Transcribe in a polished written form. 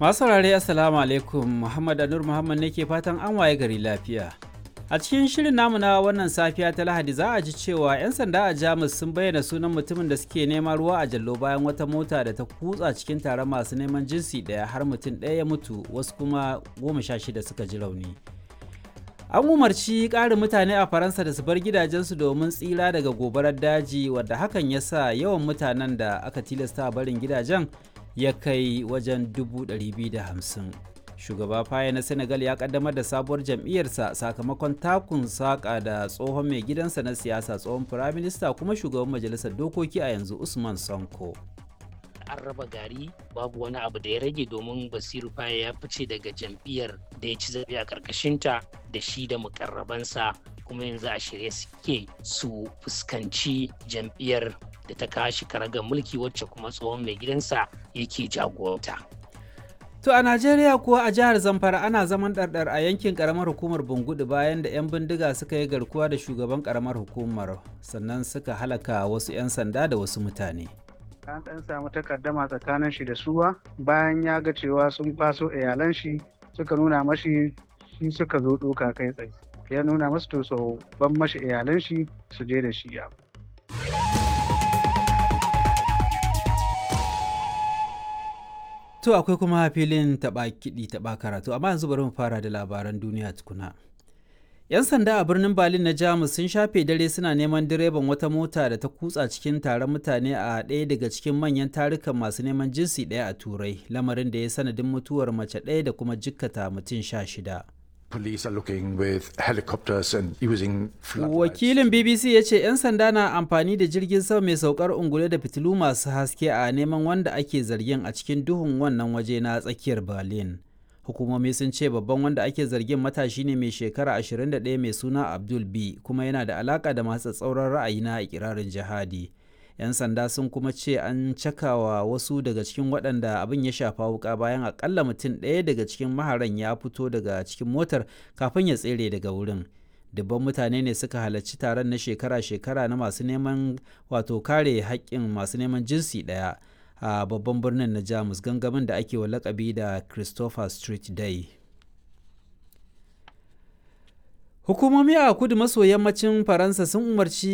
Masu saurare, Assalamu alaikum. Muhammad Anur Muhammad ne ke fatan an waye gari lafiya. A cikin shirin namu na wannan safiya ta Lahadi, za a ji cewa 'yan sanda a Jamus sun bayyana sunan mutumin da suke nema ruwa a jallo bayan wata mota da ta kutsa cikin taron masu neman jinsi ɗaya har mutum ɗaya ya mutu, wasu kuma 16 suka ji rauni. An umarci ƙarin mutane a Faransa da su bar gidajensu domin tsira daga gobarar daji, wadda hakan ya sa yawan mutanen da aka tilasta barin gidajen ya kai wajen 250,000. Shugaba Faye na Senegal ya kaddamar da sabuwar jam'iyyarsa sakamakon takun saƙa da tsohon mai gidansa na siyasa, tsohon firaminista kuma shugaban majalisar dokoki a yanzu, Usman Sonko. An raba gari, babu wani abu da ya rage, domin Basiru Faye ya fice daga jam'iyyar da ya ci zaɓe a ƙarƙashinta da shi da mukarrabansa, kuma yanzu a shirye suke su fuskanci jam'iyyar da ta kashi karagar mulki, wacce kuma tsohon mai gidansa yake jagoranta. To a Najeriya kuwa, a jihar Zamfara ana zaman ɗarɗar a yankin ƙaramar hukumar Bungudu bayan da 'yan bindiga suka yi garkuwa da shugaban ƙaramar hukumar, sannan suka halaka wasu 'yan sanda da wasu mutane. An ɗan samu takaddama tsakanin shi da suwa bayan ya ga cewa sun kwaso iyalan shi, suka nuna mashi shi suka zo ɗoka kai tsaye. Ya nuna masu to so ban mashi iyalan shi su je da shi ya. To akwai kuma filin taɓa kiɗi taɓa karatu, amma yanzu bari mu fara da labaran duniya tukuna. 'Yan sanda a birnin Berlin na Jamus sun shafe dare suna neman direban wata mota da ta kutsa cikin taron mutane a ɗaya daga cikin manyan tarukan masu neman jinsi ɗaya a Turai, lamarin da ya sanadin mutuwar mace ɗaya da kuma jikkata mutum 16. Police are looking with helicopters and using floodlights. Wakilin BBC ya ce 'yan sanda na amfani da jirgin sama mai saukar ungulu da fitilu masu haske a neman wanda ake zargin a cikin duhun wannan waje na tsakiyar Berlin. Hukumomi sun ce babban wanda ake zargin matashi ne mai shekara 21 mai suna Abdul B, kuma yana da alaka da masu tsauran ra'ayi na ikirarin jihadi. 'Yan sanda sun kuma ce an cakawa wasu daga cikin waɗanda abin ya shafa wuka bayan akalla mutum ɗaya daga cikin maharan ya fito daga cikin motar kafin ya tsere daga wurin. Dubban mutane ne suka halarci taron na shekara-shekara na masu neman, wato kare haƙƙin masu neman jinsi ɗaya a babban birnin na Jamus, gangamin da ake wa lakabi da Christopher Street Day. Hukumomi a kudu maso yammacin Faransa sun umarci